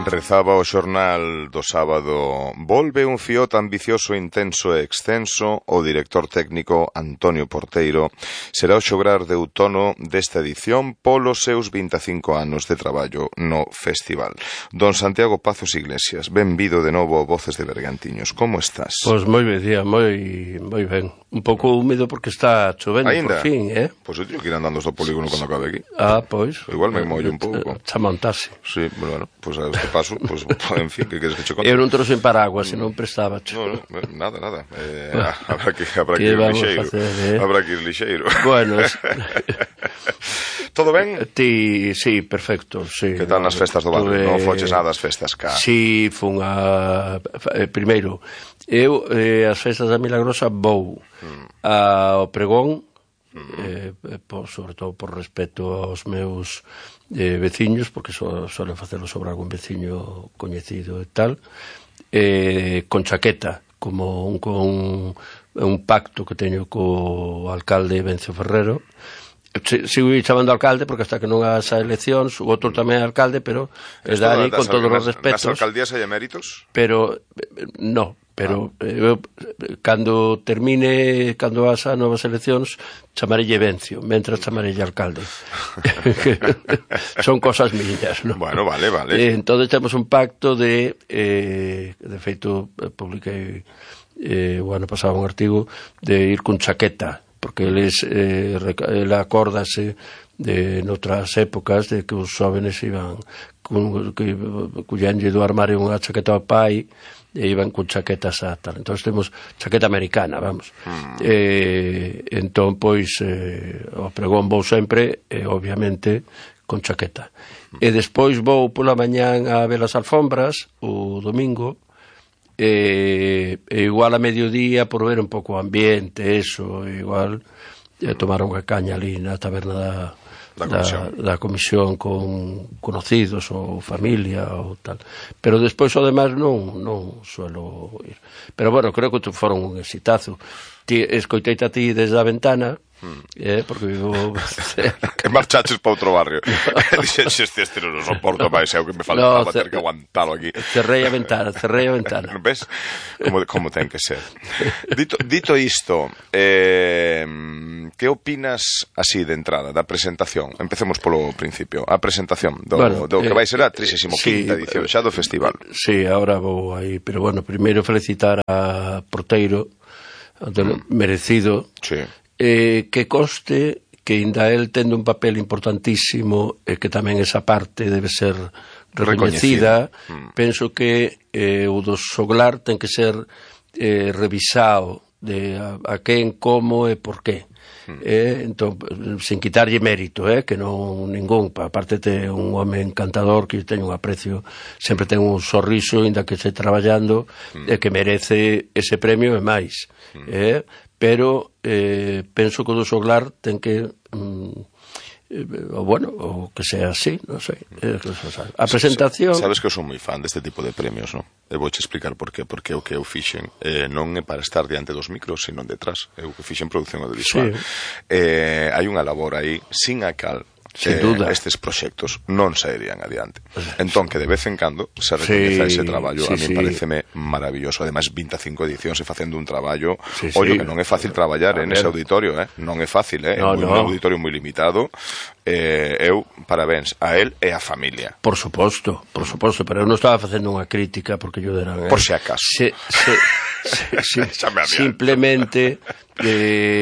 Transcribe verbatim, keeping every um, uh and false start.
Rezaba o xornal do sábado: volve un Fiat ambicioso, intenso e extenso. O director técnico Antonio Porteiro será o xograr de outono desta edición polos seus vinte e cinco anos de traballo no festival. Don Santiago Pazos Iglesias, benvido de novo a Voces de Bergantiños. Como estás? Pois moi ben, día, moi, moi ben. Un pouco húmedo porque está chovendo por fin, eh? Pois eu teño que ir andando do polígono cando acabe aquí. Ah, pois. Igual me mollo un pouco. Xa montase. Sí, bueno, pois a este paso, pois, en fin, que queres que che conte? Eu non trouxe en paraguas, senón prestaba. No, no, nada, nada. Eh, habrá que, habrá que, que ir lixeiro. Facer, eh? Habrá que ir lixeiro. Bueno, es... Todo ben? Ti, sí, perfecto, sí. Que tal nas festas do barrio? Tuve... Non foches nada as festas cá? Sí, fun a... Eh, primeiro, eu eh, as festas da Milagrosa vou mm. ao pregón, mm. eh, por, sobre todo por respeto aos meus eh, veciños, porque so, suelen facelo sobre algún veciño coñecido e tal, eh, con chaqueta, como un, con un pacto que teño co alcalde Vencio Ferrero. Sigo chamando alcalde porque hasta que non as eleccións o outro tamén é alcalde, pero es Dani, con todos os respetos. Nas alcaldías hai eméritos? Pero, no, pero ah. eu, cando termine, cando vas a novas eleccións, chamarelle Vencio, mentras chamarelle alcalde. Son cosas miñas, non? Bueno, vale, vale. Eh, entón temos un pacto de, eh, de feito, publiquei eh, o ano pasado un artigo de ir con chaqueta, porque eles eh, ele acórdase de noutras épocas de que os xóvenes iban con, que cullenlle do armario unha chaqueta ao pai e iban con chaquetas a tal. Entón temos chaqueta americana, vamos. Mm. Eh, entón, pois, eh, o pregón vou sempre, e, obviamente, con chaqueta. Mm. E despois vou pola mañán a ver as alfombras, o domingo, e, e igual a mediodía por ver un pouco o ambiente, eso, igual e tomar unha caña ali na taberna da, da, comisión. da, da comisión con conocidos ou familia ou tal, pero despois o demais non, non suelo ir, pero bueno, creo que foron un exitazo. Ti, escoiteite a ti desde a ventana, Hmm. Eh, porque vivo que marchaches para outro barrio. Dixeches, este non o soporto máis, é o que me faltaba, no, ter que aguantalo aquí. Cerrei a ventana, cerrei a ventana. Ves? Como, como ten que ser. Dito, dito isto, eh, que opinas así de entrada, da presentación? Empecemos polo principio. A presentación do, bueno, do que vai ser a trigésima quinta sí, edición xa do festival. Sí, ahora vou aí, pero bueno, primeiro felicitar a Porteiro, mm. merecido. Sí. Eh, que conste que ainda el tendo un papel importantísimo e eh, que tamén esa parte debe ser recoñecida, mm. penso que eh, o do xoglar ten que ser eh, revisado de a, a quen, como e por qué. Mm. Eh, entón, sin quitarlle mérito, eh, que non ningún, aparte te un home encantador que teño un aprecio, sempre ten un sorriso inda que este traballando mm. e que merece ese premio e máis. Mm. Eh, pero eh, penso que o do xoglar ten que mm, eh, o bueno, o que sea así, non sei, eh, a presentación. Sabes que eu son moi fan deste tipo de premios, non? E vouche explicar por qué, porque o que eu fixen eh, non é para estar diante dos micros, sino detrás. Eu que fixen produción audiovisual. Sí. Eh, hai unha labor aí sin a cal sin duda eh, estes proxectos non sairían adiante. Entón, que de vez en cando se recoñeza sí, ese traballo, sí, a mí sí. pareceme maravilloso. Ademais, vinte e cinco edicións e facendo un traballo, sí, ollo, sí. que non é fácil traballar en ese auditorio, eh? Non é fácil, eh? No, é no. un auditorio moi limitado. Eh, eu, parabéns a él e a familia. Por suposto, por suposto, pero eu non estaba facendo unha crítica porque yo deran... Por si acaso. Se, se, se, se, simplemente... Eh,